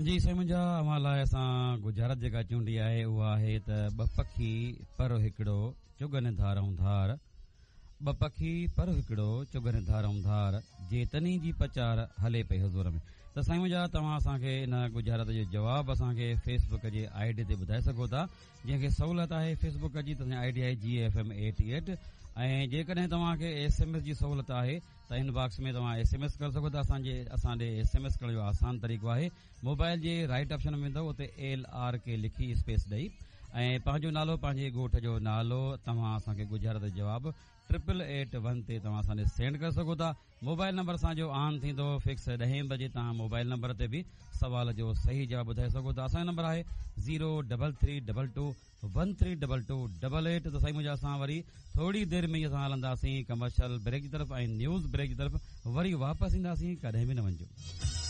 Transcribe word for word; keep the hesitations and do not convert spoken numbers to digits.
جي سائين منهنجا، اوهان لاء اسان ڳجهارت جيڪا چونڊي آهي اها آهي ته ٻه پکي پر هڪڙو چڳن ڌارئون ڌار، ٻه پکي پر هڪڙو چڳن ڌارئون ڌار، جي تني جي پچار هلي پئي حضور ۾. ته سائين منهنجا، توهان اسان کي ان ڳجهارت جو جواب اسان کي فيس بڪ جي I D تي ٻڌائي سگهو ٿا. جنهن کي سهولت آهي فيس بڪ جي ته I D آهي جي ايف ايم ايٽي ايٽ، ۽ جيڪڏهن توهان کي ايس ايم ايس جي سهولت آهي ته ان باڪس ۾ توهان ايس ايم ايس ڪري سگهو ٿا. اسان جي اسان ڏي ايس ايم ايس ڪرڻ جو آسان طريقو آهي، موبائل جي رائٽ آپشن ۾ ويندو، اتي ايل آر ڪي لکي اسپيس ڏئي ۽ پنهنجو نالو، پنهنجي ڳوٺ جو نالو، توهان اسان کي ڳجهارت جو جواب ٽرپل ايٽ ون تي توهان اسان ڏي سينڊ ڪري سگهو ٿا. موبائل نمبر اسان جو آن ٿيندو فڪس ڏهين بجي، توهان موبائل نمبر تي به سوال جو صحيح جواب ٻڌائي سگهو ٿا. اسان جو نمبر آهي zero double three double two one three double two double eight. ته سائين منهنجا، اسان وري ٿوري دير ۾ ئي اسان هلنداسين ڪمرشل بريڪ جي طرف ۽ نيوز بريڪ جي طرف، وري واپس اينداسين، ڪڏهن به نه وڃجو.